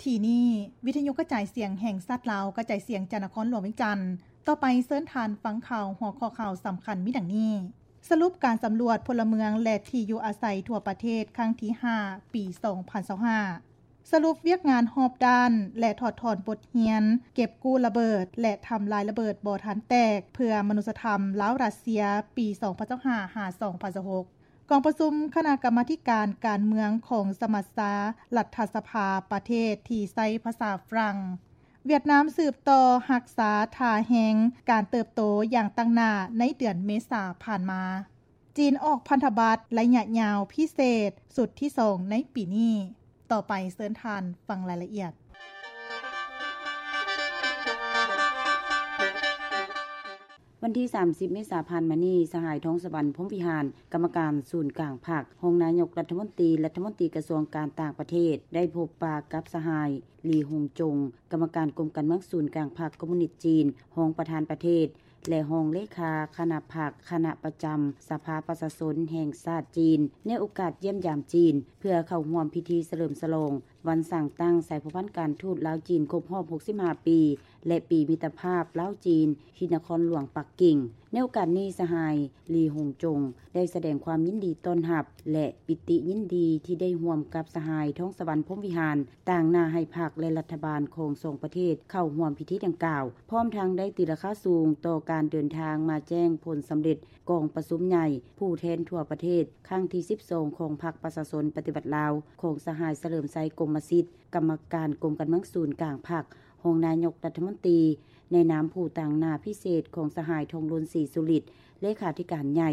ທີ່ນີ້ ວິທະຍຸກະຈາຍສຽງແຫ່ງຊາດລາວ ກະຈາຍສຽງຈາກນະຄອນຫຼວງວຽງຈັນ. ຕໍ່ໄປເຊີນທ່ານຟັງຂ່າວ ຫົວຂໍ້ຂ່າວສຳຄັນມີດັ່ງນີ້: ສະຫຼຸບການສຳຫຼວດພົນລະເມືອງ ແລະ ທີ່ຢູ່ອາໄສທົ່ວປະເທດ ຄັ້ງທີຫ້າ ປີສອງພັນຊາວຫ້າ. ສະຫຼຸບວຽກງານຮອບດ້ານ ແລະ ຖອດຖອນບົດຮຽນ ເກັບກູ້ລະເບີດ ແລະ ທຳລາຍລະເບີດບໍ່ທັນແຕກ ເພື່ອມະນຸດສະທຳລາວ-ຣັດເຊຍ ປີສອງພັນຊາວຫ້າ ຫາ ສອງພັນຊາວຫົກ. ກອງປະຊຸມຄະນະກຳມາທິການການເມືອງຂອງສະມັດຊາລັດຖະສະພາປະເທດທີ່ໃຊ້ພາສາຝຣັ່ງ. ຫວຽດນາມສືບຕໍ່ຮັກສາທ່າແຮງການເຕີບໂຕຢ່າງຕັ້ງໜ້າໃນເດືອນເມສາຜ່ານມາ. ຈີນອອກພັນທະບັດໄລຍະຍາວພິເສດຊຸດທີສອງໃນປີນີ້. ຕໍ່ໄປເຊີນທ່ານຟັງລາຍລະອຽດ. ວັນທີສາມສິບ ເມສາຜ່ານມານີ້, ສະຫາຍ ທອງສະຫວັນ ພົມວິຫານ ກຳມະການສູນກາງພັກ, ຮອງນາຍົກລັດຖະມົນຕີ, ລັດຖະມົນຕີກະຊວງການຕ່າງປະເທດ ໄດ້ພົບປະກັບສະຫາຍ ລີ ຫົງຈົງ ກຳມະການກົມການເມືອງສູນກາງພັກຄອມມູນິດຈີນ, ຮອງປະທານປະເທດ ແລະ ຮອງເລຂາຄະນະພັກ, ຄະນະປະຈຳສະພາປະຊາຊົນແຫ່ງຊາດຈີນ ໃນໂອກາດຢ້ຽມຢາມຈີນ ເພື່ອເຂົ້າຮ່ວມພິທີສະເຫຼີມສະຫຼອງ ວັນສ້າງຕັ້ງສາຍພົວພັນການທູດລາວ-ຈີນຄົບຮອບຫົກສິບຫ້າປີ ແລະ ປີມິດຕະພາບລາວ-ຈີນ ທີ່ນະຄອນຫຼວງປັກກິ່ງ. ໃນໂອກາດນີ້, ສະຫາຍ ລີ ຫົງຈົງ ໄດ້ສະແດງຄວາມຍິນດີຕ້ອນຮັບ ແລະ ປິຕິຍິນດີທີ່ໄດ້ຮ່ວມກັບສະຫາຍ ທອງສະຫວັນ ພົມວິຫານ ຕາງໜ້າໃຫ້ພັກ ແລະ ລັດຖະບານຂອງສອງປະເທດເຂົ້າຮ່ວມພິທີດັ່ງກ່າວ, ພ້ອມທັງໄດ້ຕີລາຄາສູງຕໍ່ການເດີນທາງມາແຈ້ງຜົນສຳເລັດກອງປະຊຸມໃຫຍ່ຜູ້ແທນທົ່ວປະເທດ ຄັ້ງທີສິບສອງ ຂອງພັກປະຊາຊົນປະຕິວັດລາວ ຂອງສະຫາຍ ສະເຫຼີມໄຊ ກົມມະສິດ ກຳມະການກົມການເມືອງສູນກາງພັກ, ຮອງນາຍົກລັດຖະມົນຕີ ໃນນາມຜູ້ຕາງໜ້າພິເສດຂອງສະຫາຍ ທອງລຸນ ສີສຸລິດ ເລຂາທິການໃຫຍ່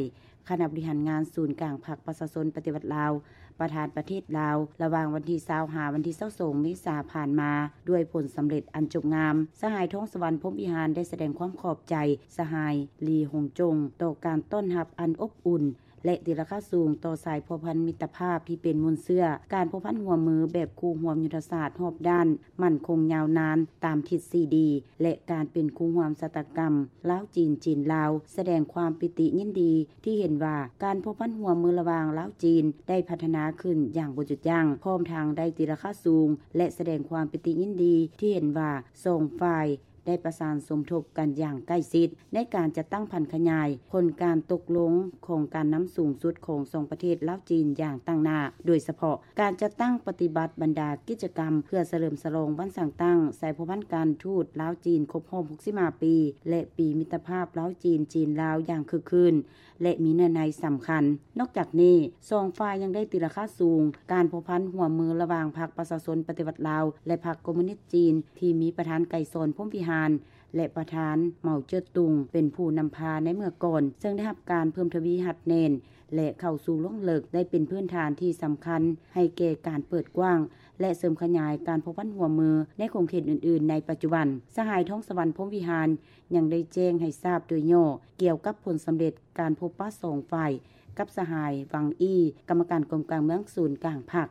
ຄະນະບໍລິຫານງານສູນກາງພັກປະຊາຊົນປະຕິວັດລາວ ປະທານປະເທດລາວ ລະຫວ່າງວັນທີຊາວ ຫາ ວັນທີຊາວສອງ ເມສາຜ່ານມາ ດ້ວຍຜົນສຳເລັດອັນຈົບງາມ. ສະຫາຍ ທອງສະຫວັນ ພົມວິຫານ ໄດ້ສະແດງຄວາມຂອບໃຈສະຫາຍ ລີ ຫົງຈົງ ຕໍ່ການຕ້ອນຮັບອັນອົບອຸ່ນ ແລະ ຕີລາຄາສູງຕໍ່ສາຍພົວພັນມິດຕະພາບທີ່ເປັນມູນເຊື້ອ, ການພົວພັນຮ່ວມມືແບບຄູ່ຮ່ວມຍຸດທະສາດຮອບດ້ານ ໝັ້ນຄົງຍາວນານຕາມທິດສີ່ດີ ແລະ ການເປັນຄູ່ຮ່ວມຊະຕາກຳລາວ-ຈີນ, ຈີນ-ລາວ, ສະແດງຄວາມປິຕິຍິນດີທີ່ເຫັນວ່າການພົວພັນຮ່ວມມືລະຫວ່າງລາວ-ຈີນໄດ້ພັດທະນາຂຶ້ນຢ່າງບໍ່ຢຸດຢັ້ງ, ພ້ອມທັງໄດ້ຕີລາຄາສູງ ແລະ ສະແດງຄວາມປິຕິຍິນດີທີ່ເຫັນວ່າສອງຝ່າຍ ໄດ້ປະສານສົມທົບກັນຢ່າງໃກ້ຊິດ ໃນການຈັດຕັ້ງຜັນຂະຫຍາຍຜົນການຕົກລົງຂອງການນຳສູງສຸດຂອງສອງປະເທດລາວ-ຈີນຢ່າງຕັ້ງໜ້າ, ໂດຍສະເພາະການຈັດຕັ້ງປະຕິບັດບັນດາກິດຈະກຳເພື່ອສະເຫຼີມສະຫຼອງວັນສ້າງຕັ້ງສາຍພົວພັນການທູດລາວ-ຈີນຄົບຮອບຫົກສິບຫ້າປີ ແລະ ປີມິດຕະພາບລາວ-ຈີນ, ຈີນ-ລາວ ຢ່າງຄຶກຄື້ນ ແລະ ມີເນື້ອໃນສຳຄັນ. ນອກຈາກນີ້, ສອງຝ່າຍຍັງໄດ້ຕີລາຄາສູງການພົວພັນຮ່ວມມືລະຫວ່າງພັກປະຊາຊົນປະຕິວັດລາວ ແລະ ພັກຄອມມູນິດຈີນ ທີ່ມີປະທານ ໄກສອນ ພົມວິຫານ ແລະ ປະທານ ເໝົາເຈີດຕຸງ ເປັນຜູ້ນຳພາໃນເມື່ອກ່ອນ, ເຊິ່ງໄດ້ຮັບການເພີ່ມທະວີຮັດແໜ້ນ ແລະ ເຂົ້າສູ່ລົງເລິກ ໄດ້ເປັນພື້ນຖານທີ່ສຳຄັນໃຫ້ແກ່ການເປີດກວ້າງ ແລະ ເສີມຂະຫຍາຍການພົວພັນຮ່ວມມືໃນຂົງເຂດອື່ນໆໃນປັດຈຸບັນ. ສະຫາຍ ທອງສະຫວັນ ພົມວິຫານ ຍັງໄດ້ແຈ້ງໃຫ້ຊາບໂດຍຫຍໍ້ກ່ຽວກັບຜົນສຳເລັດ ການພົບປະສອງຝ່າຍ ກັບສະຫາຍ ວັງ ອີ ກຳມະການກົມກາງເມືອງສູນກາງພັກ,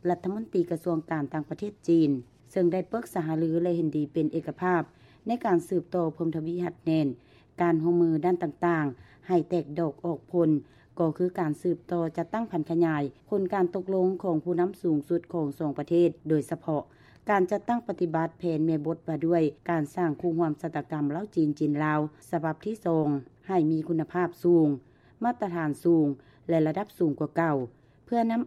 ລັດຖະມົນຕີກະຊວງການຕ່າງປະເທດຈີນ, ເຊິ່ງໄດ້ປຶກສາຫາລື ແລະ ເຫັນດີເປັນເອກະພາບ ໃນການສືບຕໍ່ເພີ່ມທະວີຮັດແໜ້ນການຮ່ວມມືດ້ານຕ່າງໆ ໃຫ້ແຕກດອກອອກຜົນ, ກໍຄືການສືບຕໍ່ຈັດຕັ້ງຜັນຂະຫຍາຍຜົນການຕົກລົງຂອງຜູ້ນຳສູງສຸດຂອງສອງປະເທດ, ໂດຍສະເພາະການຈັດຕັ້ງປະຕິບັດແຜນແມ່ບົດວ່າດ້ວຍການສ້າງຄູ່ຮ່ວມຊະຕາກຳລາວ-ຈີນ, ຈີນ-ລາວ ສະບັບທີສອງ ໃຫ້ມີຄຸນນະພາບສູງ, ມາດຕະຖານສູງ ແລະ ລະດັບສູງກວ່າເກົ່າ, ເພື່ອນຳ